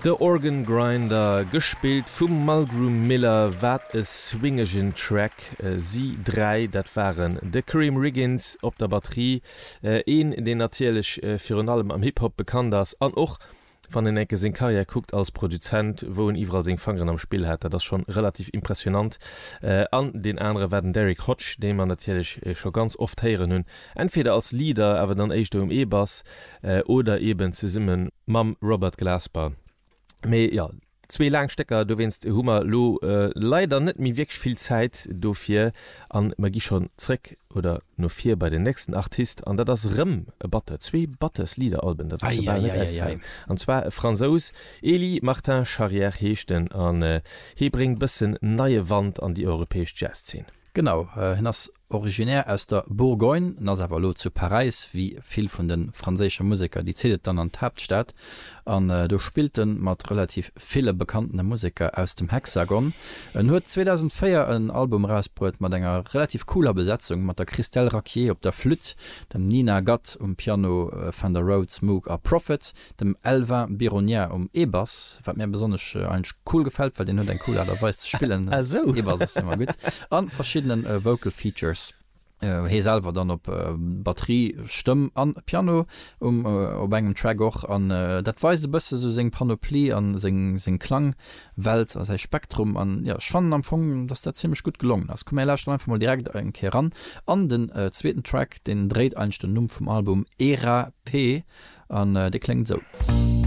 The Organ Grinder, gespillt vum Mulgrew Miller, wat e swingegen Track. Si 3, dat waren de Karriem Riggins op der Batterie, een deen natierlech virun allem am Hip-Hop bekannt ass an och wann een enke seng Karriär kuckt als Produzent, wou en iwwerall seng Fangeren am Spill hat, dat ass schonn relativ impressionant. An deen anere war den Derrick Hodge, dee mer natierlech scho ganz oft héieren hunn, entweder als Leader, awer dann éischter um E-Bass, oder eben zesumme mam Robert Glasper. Mee jo, zwee laang Stécker, dowéinst hu mer elo leider net méi wierklech vill Zäit dofir an mer gi schonn zréck oder no vir bei den nächsten Artist an dat ass erëm e Batteur, zwee Batteurs-Leader-Alben, dat ass jo bal net auszehalen, an zwar e Fransous, Elie Martin Charrière heescht en an hee bréngt bëssen neie Wand an déi europäesch Jazz-Zeen. Genau, hien ass originaire aus der Bourgogne, en ass awer elo zu Paräis, wéi vill vun de franséische Museker, déi zitt et dann an d'Haaptstad an do spillt en mat relativ ville bekanntene Museker aus dem Hexagon. En huet 2004 en Album erausbruet mat enger relativ cooler Besetzung, mat der Christelle Racquier op der Flütt, dem Nina Gatt um Piano, Fender Rhodes, Moog a Prophet, Dem Elvin Bironia um E-Bass, wat mir besonnesch eigentlech cool gefält, well deen huet eng cool Aart a Weis ze spillen. E-Bass ass ëmmer gutt. An verschiddenen Vocal Features. Hee selwer dann op Batterie, Stëmm an Piano um op engem Track och. An dat weist e bësse sou seng Panoplie an seng seng Klangwelt a säi Spektrum. An jo, ech fannen am Fong, dass dat zimmlech gutt gelongen ass. Komm mir lauschteren einfach mol direkt eng Kéier eran an den zweeten Track, deen dréit eigentlech den Numm vum Album Era P. An dee kléngt esou.